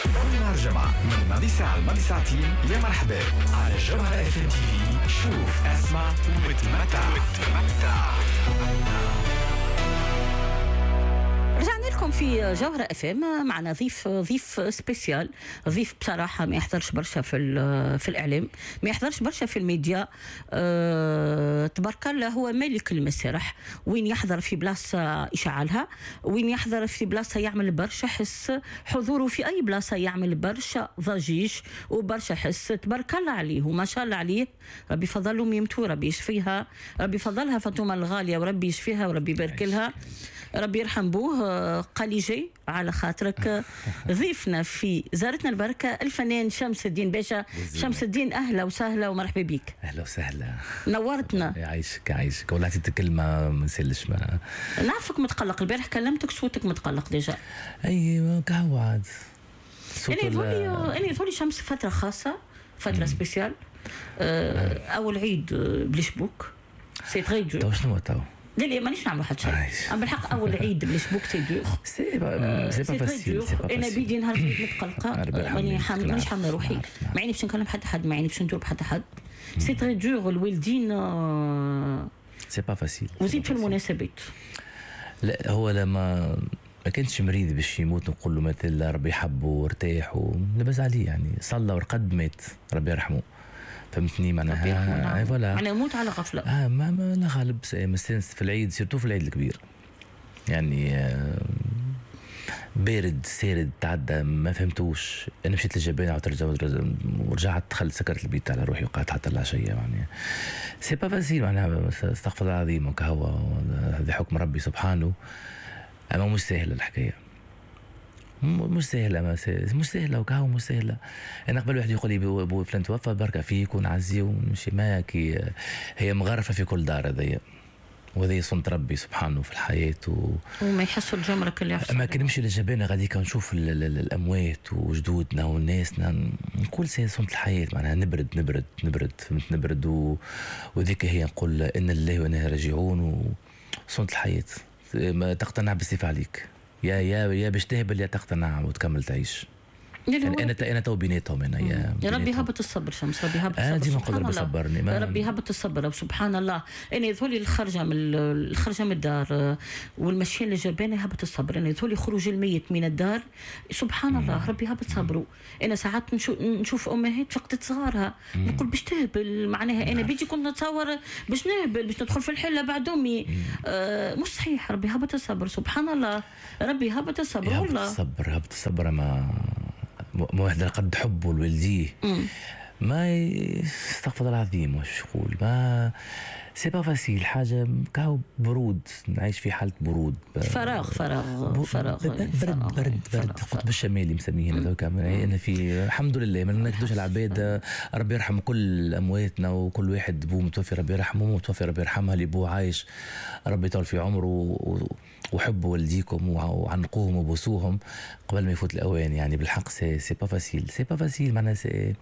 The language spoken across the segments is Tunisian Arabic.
كل نهار جمعة من ماضي ساعة لماضي ساعتين، يا مرحبا على جوهرة اف ام تي في. شوف، اسمع وتمتع وتمتع. رجعنا لكم في جوهرة اف ام، معنا ضيف spécial، ضيف بصراحة ما يحضرش برشا في الإعلام، ما يحضرش برشا في الميديا. تبارك الله هو ملك المسارح، وين يحضر في بلاصة يشعلها، وين يحضر في بلاصة يعمل برشا حس، حضوره في أي بلاصة يعمل برشا ضجيج وبرشا حس. تبارك الله عليه وما شاء الله عليه، ربي فضله ميمتو، ربي يشفيها، ربي فضلها فاطمة الغالية، وربي يشفيها وربي يبارك لها، ربي يرحم بوه. قال جاي على خاطرك ضيفنا في زارتنا البركة الفنان شمس الدين باشا. شمس الدين أهلا وسهلا ومرحبا بك. أهلا وسهلا، نورتنا. يعيشك يعيشك، والله عطيتك كلمة ما نسلش. ما نعرفك متقلق، البارح كلمتك صوتك متقلق déjà. أي كهو عاد. أنا يظهرلي شمس فترة خاصة، فترة spéciale. أول عيد بلاش بوك، c'est très dur. تو شنو تو؟ لا لا مانيش نعمل حتى شيء، اما بالحق اول عيد بلاش بوك c'est dur، c'est pas facile. انا بيدي نهار العيد متقلقه، مانيش حامله روحي، ما عيني باش نكلم حتى حد، ما عيني باش ندور بحتى حد. c'est très dur الوالدين، c'est pas facile، وزيد في المناسبات. لا هو لما ما كانش مريض باش يموت نقول له مثل ربي يحبه وارتاح ولاباس عليه، يعني صلى ورقد مات ربي يرحمه، فهمتني معناها. voilà معناها يموت على غفلة. ما لا غالب مستانس في العيد، surtout في العيد الكبير يعني. بارد سارد تعدى ما فهمتوش. انا مشيت للجبانه ورجعت دخلت سكرت البيت على روحي وقعدت حتى العشية، يعني c'est pas facile معناها. استغفر الله العظيم وكهو، هذا حكم ربي سبحانه. اما مش سهلة الحكاية، مش سهلة، مش سهلة وكهو مش سهلة. انا قبل واحد يقول لي بو فلان توفى بركة فيك ونعزي ونمشي، ما كي هي مغرفه في كل دار هذيا، وهذه سنة ربي سبحانه في الحياة. وما يحسوا الجمرة كل يحسوا. اما كي نمشي للجبانه غاديك نشوف الاموات وجدودنا وناسنا، نقول c'est سنة الحياة معناها. نبرد نبرد نبرد، فهمت، نبرد وذيك هي نقول ان لله وانا راجعون، وسنة الحياة ما تقتنع بالسيف عليك، يا يا يا باش تهبل يا تقتنع وتكمل تعيش. يعني انا تو بيناتهم انا يا ربي هبط الصبر شمس، ربي هبط الصبر. انا ديما نقول ربي صبرني، ربي هبط الصبر سبحان الله. انا يظهر لي الخرجه من الدار والمشي للجبانه هبط الصبر. انا يظهر لي خروج الميت من الدار سبحان الله، ربي هبط صبره. انا ساعات نشوف امهات فقدت صغارها، نقول باش تهبل معناها. انا بيجي كنت نتصور باش نهبل، باش ندخل في الحلة بعد امي. مش صحيح، ربي هبط الصبر سبحان الله، ربي هبط الصبر والله. هبط الصبر، هبط الصبر. ما واحد قد حبه لوالديه ما استغفر الله العظيم واش نقول، ما c'est pas facile حاجة كاو برود، نعيش في حاله برود، فراغ فراغ فراغ، برد برد برد، القطب الشمالي مسميه هذاك. انا في الحمد لله ما نكدوش العباد، ربي يرحم كل امواتنا وكل واحد بو متوفي ربي يرحمه، متوفي ربي يرحمها، اللي بو عايش ربي يطول في عمره، وحبوا والديكم وعنقوهم وبوسوهم قبل ما يفوت الاوان. يعني بالحق c'est pas facile، c'est pas facile معناها c'est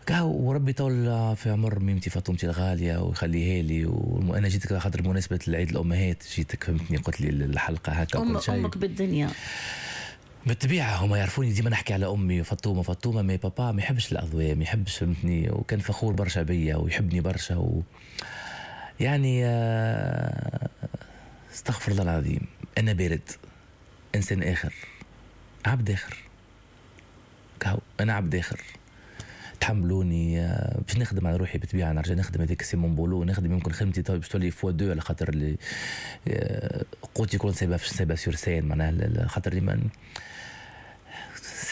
كاو. وربي يطول في عمر ميمتي فاطمتي الغالية ويخليها لي. وانا جيتك خاطر بمناسبة العيد الامهات جيتك، فهمتني، قلت لي الحلقة هكا وكل شيء. امك بالدنيا بالطبيعة، هما يعرفوني ديما نحكي على امي فاطمة فاطمة، mais بابا ما يحبش الاضواء، ما يحبش، فهمتني، وكان فخور برشا بيا ويحبني برشا يعني استغفر الله العظيم. انا بارد، انسان اخر، عبد اخر، كهو انا عبد اخر. تحملوني باش نخدم على روحي بالطبيعة، نرجع نخدم هذيك c'est mon boulot، نخدم يمكن خدمتي باش تولي fois deux على خاطر اللي قوتي يكون سايبه سايبه sur scène معناها، خاطر اللي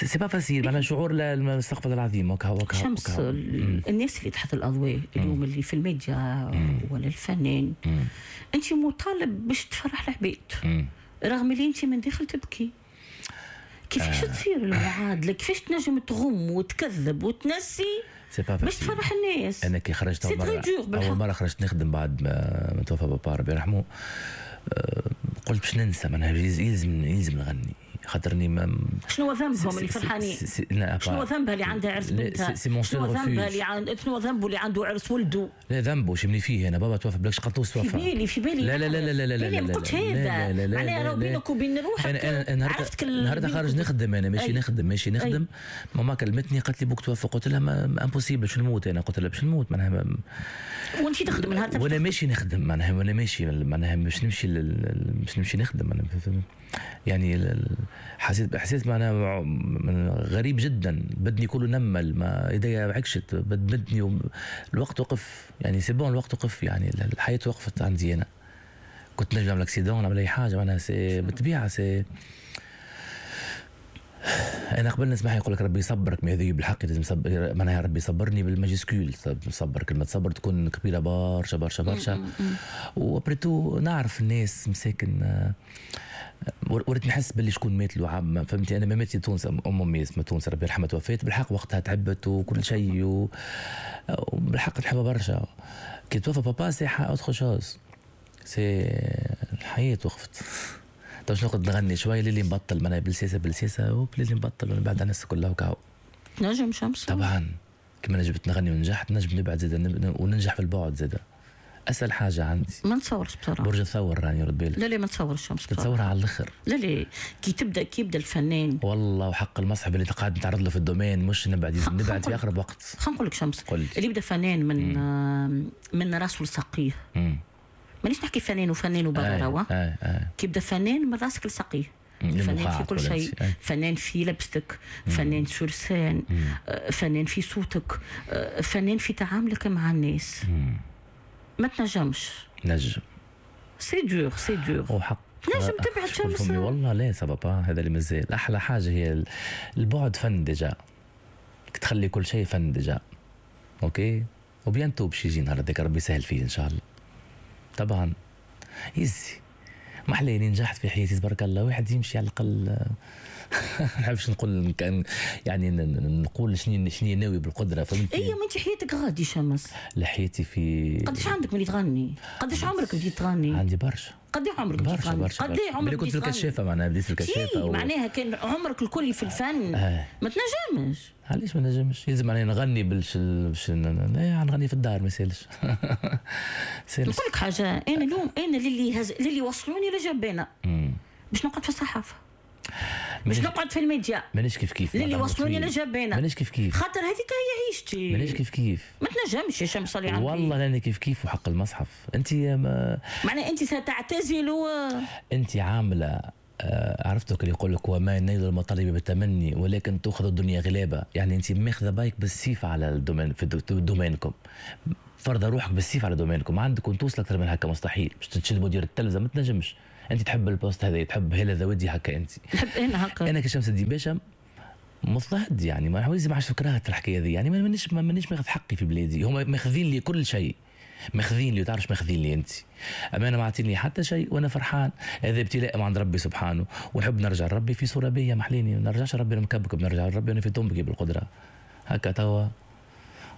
c'est pas facile معناها شعور استغفر الله العظيم. وكهو شمس الناس اللي تحت الاضواء اليوم اللي في الميديا ولا الفنان، انت مطالب باش تفرح العباد رغم اللي انت من داخل تبكي. كيفاش تصير المعادلة؟ كيفاش تنجم تغم وتكذب وتنسي باش تفرح الناس؟ انا كي خرجت اول مرة خرجت نخدم بعد ما توفى بابا ربي يرحمه، قلت باش ننسى معناها، يلزم نغني. خاطرني ما شنو ذنبهم اللي فرحانين؟ شنو ذنبها اللي عندها عرس بنتها؟ شنو ذنبها اللي شنو ذنبه اللي عنده عرس ولده؟ لا ذنبه شمني فيه انا بابا توفى بلاش قطوس توفى. في بالي لا لا لا لا لا لا لا قلت هذا معناها راه بينك وبين روحك. انا عرفت النهارده خارج نخدم، انا ماشي نخدم ماشي نخدم. ماما كلمتني قالت لي بوك توفى، قلت لها impossible باش نموت انا، قلت لها باش نموت معناها. وانت تخدم النهار؟ وانا ماشي نخدم معناها، وانا ماشي معناها باش نمشي باش نمشي نخدم معناها. يعني حسيت باحساس معناها غريب جدا، بدني كله نمل، ما ايديا عكشت، بدني الوقت وقف يعني c'est bon الوقت وقف يعني الحياة وقفت عندي انا. كنت نجم نعمل accident نعمل اي حاجة معناها c'est بالطبيعة c'est انا قبل نسمع يقول لك ربي يصبرك، ما هذه بالحق لازم صبر معناها ربي يصبرني بال majuscule، صبر كلمة صبر تكون كبيرة برشا برشا برشا. و après tout نعرف الناس مساكن، وريت نحس باللي شكون مات له عام فهمتي. انا ما ماتت تونس امي اسمها تونس ربي يرحمها توفات بالحق وقتها تعبت وكل شيء وبالحق نحبها برشا. كي توفى بابا c'est autre chose، c'est الحياة وقفت. تو باش نقعد نغني شوية للي نبطل معناها بالسياسة بالسياسة وبلي نبطل ونبعد على الناس كلها وكاو. نجم شمس طبعا كما نجمت نغني ونجحت نجم نبعد زاد وننجح في البعد زاد. اسهل حاجة عندي. ما نتصورش بصراحة. برج الثور راني رد بالك. لا لا ما نتصورش شمس. تتصورها على الاخر. لا لا كي تبدا كي يبدا الفنان. والله وحق المصحف اللي قاعد نتعرض له في ال domaine مش نبعد نبعد في اقرب وقت. خلينا نقول لك شمس. قل. اللي يبدا فنان من راسه لساقيه. مانيش نحكي فنان وفنان وبرا. كي يبدا فنان من راسك لساقيه. فنان في كل شيء، فنان في لبستك، فنان sur scène، فنان في صوتك، فنان في تعاملك مع الناس. ما تنجمش. نجم. c'est dur c'est dur. وحق تنجم تبعد شمس. والله لا ça va pas هذا اللي مازال احلى حاجة هي البعد فن déjà، تخلي كل شيء فن déjà. OK و bientôt باش يجي نهار هذاك ربي يسهل فيه ان شاء الله. طبعا يزي ما حليني نجحت في حياتي تبارك الله، واحد يمشي على الاقل ما نحبش نقول يعني نقول شنو ناوي بالقدرة فهمتني. اي ما انت حياتك غادي شمس. لا حياتي في قداش عندك ملي تغني؟ قداش عمرك بديت تغني؟ عندي برشا. قد عمرك بديت تغني؟ برشا قد عمرك كنت في الكشافه معناها بديت في الكشافه معناها كان عمرك الكلي في الفن. ما تنجمش. علاش ما نجمش؟ يلزم علينا نغني باش نغني في الدار ما يسالش. نقول لك حاجة، انا اليوم انا للي وصلوني لجبانه باش نقعد في الصحافة، باش نقعد في الميديا. مانيش كيف كيف للي وصلوني لجبانه. مانيش كيف كيف خاطر هذيك هي عيشتي. مانيش كيف كيف. ما تنجمش يا شمس اللي عندي. والله لاني كيف كيف وحق المصحف. انت معناها انت ستعتزل انت عامله عرفتك اللي يقول لك وما نيل المطالب بالتمني ولكن تؤخذ الدنيا غلابة، يعني انت ماخذه بايك بالسيف على ال domaine في domaine كم، فرض روحك بالسيف على domaine كم، عندك توصل اكثر من هكا مستحيل، باش تشد مدير التلفزة ما تنجمش. انت تحب ال poste هذا، تحب هلا ذودي هكا انت. نحب انا هكا. انا كشمس الدين باشا مضطهد يعني ما عاوز ما عادش كرهت الحكاية ذي، يعني مانيش ماخذ حقي في بلادي، هما ماخذين لي كل شيء. ماخذين لي تعرفش ماخذين لي انت، اما انا ما عطيني حتى شيء وانا فرحان. هذا ابتلاء من عند ربي سبحانه، ونحب نرجع لربي في صوره بيا محليني، ما نرجعش لربي مكبكب، نرجع لربي انا في طنبكي بالقدرة هكا توا.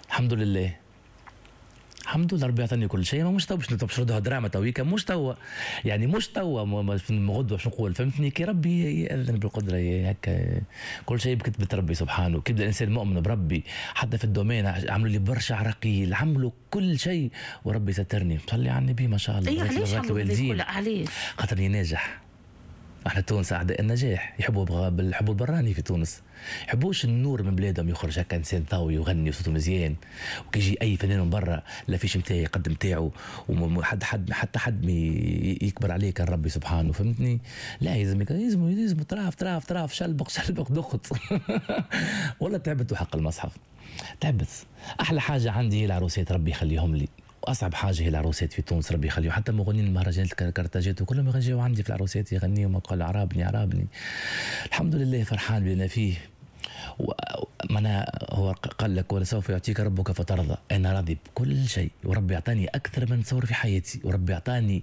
الحمد لله الحمد لله ربي عطاني كل شيء. ما مش تو باش نردوها دراما تويكا، مش توا يعني مش توا غدوه باش نقول فهمتني. كي ربي ياذن بالقدرة هكا كل شيء بكتبه ربي سبحانه. كي يبدا الانسان مؤمن بربي حتى في ال domaine عملوا لي برشا عراقيل، عملوا كل شيء وربي سترني. صلي على النبي ما شاء الله. اي علاش عملوا علاش؟ خاطرني ناجح. احنا تونس اعداء النجاح، يحبوا يحبوا البراني في تونس، يحبوش النور من بلادهم يخرج هكا انسان ضوي ويغني وصوته مزيان، وكيجي اي فنان من برا l'affiche نتاعي يقدم تاعو وحد حد حتى حد يكبر عليه كان ربي سبحانه فهمتني. لا يلزم يلزم يلزم تراف تراف تراف شلبق شلبق دخت والله تعبت وحق المصحف تعبت. احلى حاجة عندي هي العروسات ربي يخليهم لي، واصعب حاجة هي العروسات في تونس ربي يخليهم. حتى مغنيين المهرجانات الكرتاجات وكلهم يجيو عندي في العروسات يغنيوا ما قال عرابني عرابني. الحمد لله فرحان بنا فيه. معناها هو قال لك ولسوف يعطيك ربك فترضى. انا راضي بكل شيء وربي اعطاني اكثر من تصور في حياتي، وربي اعطاني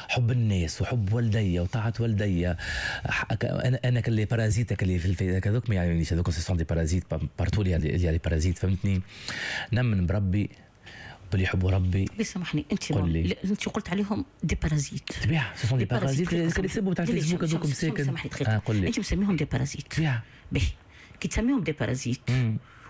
حب الناس وحب والدي وطاعة والدي. انا ك les parasites اللي في هذوك ما يعنيش هذوك ce sont des parasites partout les parasites فهمتني. نمن بربي باللي يحبوا ربي. سامحني انت انت قلت عليهم des parasites. طبيعة ce sont des parasites اللي يسبوا تاع الفيسبوك هذوك مساكن. سامحني دقيقة، انت مسميهم des parasites. طبيعة. باهي كي تسميهم des parasites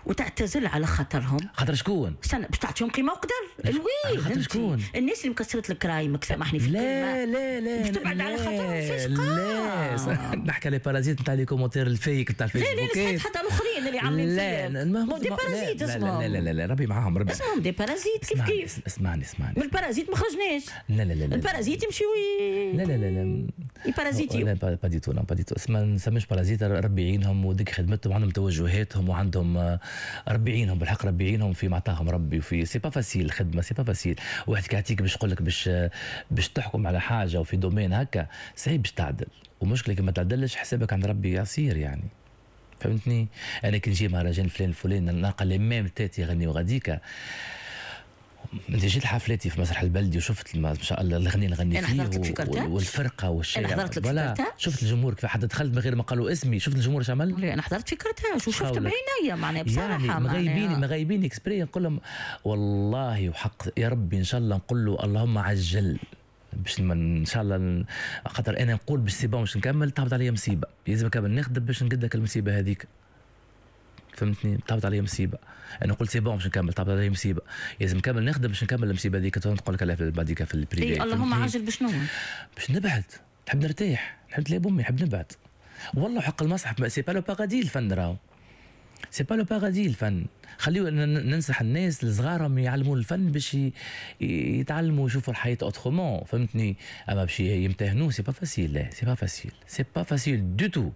وتعتزل على خاطرهم، خاطر شكون؟ استنى باش تعطيهم قيمة وقدر. oui خاطر شكون؟ الناس اللي مكسرت الكرايمك سامحني في لا لا لا باش تبعد على خاطرهم فاش لا نحكي على parasites نتاع les commentaires ال fake نتاع الفيسبوك. لا لا حتى الاخرين اللي عاملين لا des parasites اسمهم. لا لا لا لا ربي معاهم، ربي اسمهم des parasites. كيف كيف؟ اسمعني اسمعني، من ال parasites ما خرجناش. لا لا لا ال parasites يمشيو لا لا لا لا يبارازيتيو. لا pas du tout، pas du tout، ما نسميش parasites. ربي يعينهم وديك خدمتهم وعندهم توجهاتهم وعندهم ربي يعينهم بالحق، ربي يعينهم في معطاهم ربي. وفي c'est pas facile الخدمة، c'est pas facile. واحد كيعطيك باش يقول لك باش تحكم على حاجة وفي domaine هكا صعيب باش تعدل، ومشكلة كي ما تعدلش حسابك عند ربي يصير يعني، فهمتني؟ انا كي نجي مهرجان فلان فلان نلقى les mêmes têtes يغنيو غاديكا. انت جيت لحفلاتي في مسرح البلدي وشفت ما شاء الله الاغنية اللي غني فيه والفرقة والشارع. انا حضرت لك في كرتاج، شفت الجمهور كيف حتى دخلت من غير ما قالوا اسمي، شفت الجمهور اش عمل؟ انا حضرت في كرتاج وشفت بعينيا معناها بصراحة يعني مغيبين exprès. نقول لهم والله وحق يا ربي ان شاء الله نقول له اللهم عجل باش ان شاء الله، خاطر انا نقول باش c'est bon باش نكمل تهبط عليا مصيبة، لازم نكمل نخدم باش نقد المصيبة هذيك، فهمتني؟ تهبط عليا مصيبة، انا قلت c'est bon باش نكمل تهبط عليا مصيبة، لازم نكمل نخدم باش نكمل المصيبة هذيك. نقول لك عليها بعديك في ال privé. إيه اللهم عجل باش شنو؟ باش نبعد، نحب نرتاح، نحب نتلاقى بامي، نحب نبعد. والله حق المصحف c'est pas le paradis الفن، راهو c'est pas le paradis الفن. خليو ننصح الناس الصغار يعلموا الفن باش يتعلموا يشوفوا الحياة autrement، فهمتني؟ اما باش يمتهنوا c'est pas facile، لا c'est pas facile، c'est pas facile du tout،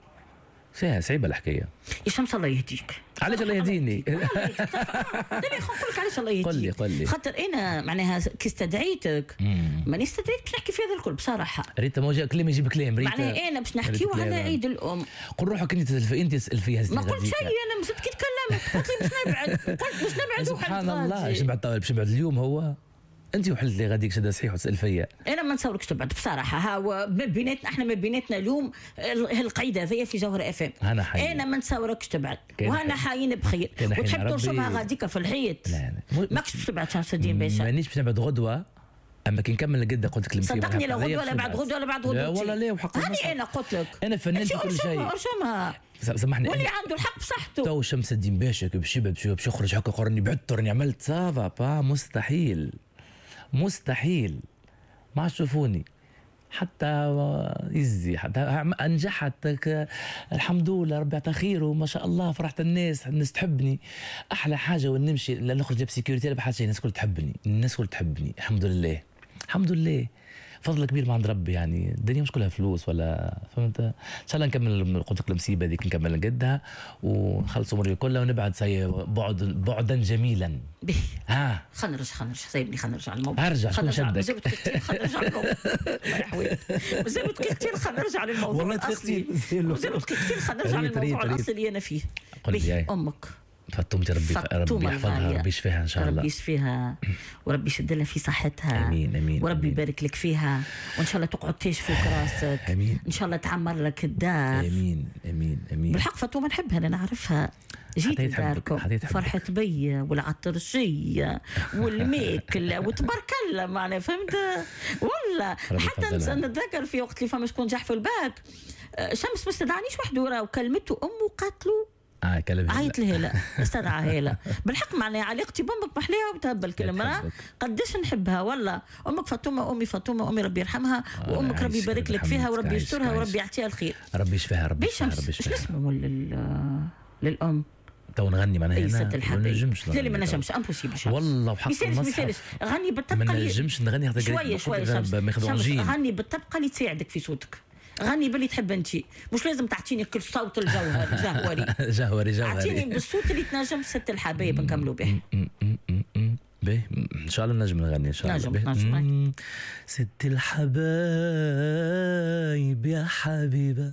صعيبة الحكاية. يا شمس الله يهديك. علاش الله يهديني؟ لا لا نقول لك علاش الله يهديك. قل لي قل لي. خاطر انا معناها كي استدعيتك ماني استدعيت باش نحكي في هذا الكل بصراحة. ريت ما كلام يجيب كلام. ريت معناها انا باش نحكيو على عيد الام. قول روحك انت تسال فيها. ما قلت شيء انا، مازلت كي تكلمت قلت لي باش نبعد، قلت باش نبعد. سبحان الله، باش نبعد باش نبعد اليوم هو انت وحلت لي غاديك شده صحيح وتسال فيا. انا ما نتصوركش تبعد بصراحة. ها ما بيناتنا احنا، ما بيناتنا اليوم هالقعيده هذيا في جوهر اف ام. انا ما نتصوركش تبعد وهنا حايين بخير وتحب ترسمها غاديك في الحيط. لا لا ماكش باش تبعد شمس الدين باشا. مانيش باش نبعد غدوه، اما كي نكمل القده قلت لك المصيبة. صدقني لا غدوه ولا بعد غدوه ولا بعد غدوه. لا والله لا وحق هاني انا قلت لك انا فنان في كل شيء. ارسمها سامحني، واللي عنده الحق بصحته. تو شمس الدين باشا باش يبعد باش يخرج هكا قرني بعدت راني عملت ça va pas، مستحيل مستحيل. ما عادش تشوفوني حتى يزي حتى انجحت الحمد لله ربي عطى خير وما شاء الله فرحت الناس، الناس تحبني. احلى حاجة وين نمشي لا نخرج ب sécurité لا بحاجة، الناس الكل تحبني، الناس الكل تحبني الحمد لله الحمد لله. فضل كبير من عند ربي يعني. الدنيا مش كلها فلوس ولا فهمت. ان شاء الله نكمل قلت لك المصيبة هذيك نكمل نقدها ونخلص اموري كلها ونبعد بعد بعدا جميلا. به ها خلينا نرجع، خلينا نرجع سايبني، خلينا نرجع للموضوع. ارجع شكون شدك؟ مازال كثير خلينا نرجع للموضوع. مازال كثير خلينا نرجع للموضوع والله الاصلي. مازال كثير خلينا نرجع للموضوع الاصلي اللي انا فيه. قل امك فطومتي ربي ربي يحفظها ربي يشفيها ان شاء الله. ربي يشفيها وربي يشد لها في صحتها. امين امين. وربي يبارك لك فيها وان شاء الله تقعد تاج فوق راسك. امين. ان شاء الله تعمر لك الدار. امين امين امين. بالحق فاطمة نحبها انا نعرفها. جيت لداركم فرحت بيا والعطرشيه والماكله وتبارك الله معناها فهمت والله. حتى نتذكر في وقت اللي فما شكون نجح في الباك، شمس ما استدعانيش وحده راه وكلمته امه وقالت له عيط لهلا استدعى هلا. بالحق معناها علاقتي بامك محلاها وتهبل كل مرة قداش نحبها والله. امك فاطمة امي فاطمة امي ربي يرحمها وامك ربي يبارك لك فيها وربي يسترها وربي يعطيها الخير. ربي يشفيها ربي يشفيها ربي يشفيها. شنو اسمه للام؟ تو نغني معناها انا ما نجمش. لا ما نجمش impossible والله وحق المصحف. غني بالطبقه ما نجمش نغني حتى شوية شوية. غني بالطبقه اللي تساعدك في صوتك. غني باللي تحب انت، مش لازم تعطيني كل صوت الجوهر جوهري جوهري جوهري. اعطيني بالصوت اللي تنجم ست الحبايب نكملوا به. به ان شاء الله نجم نغني ان شاء الله. نجم نجم. ست الحبايب يا حبيبه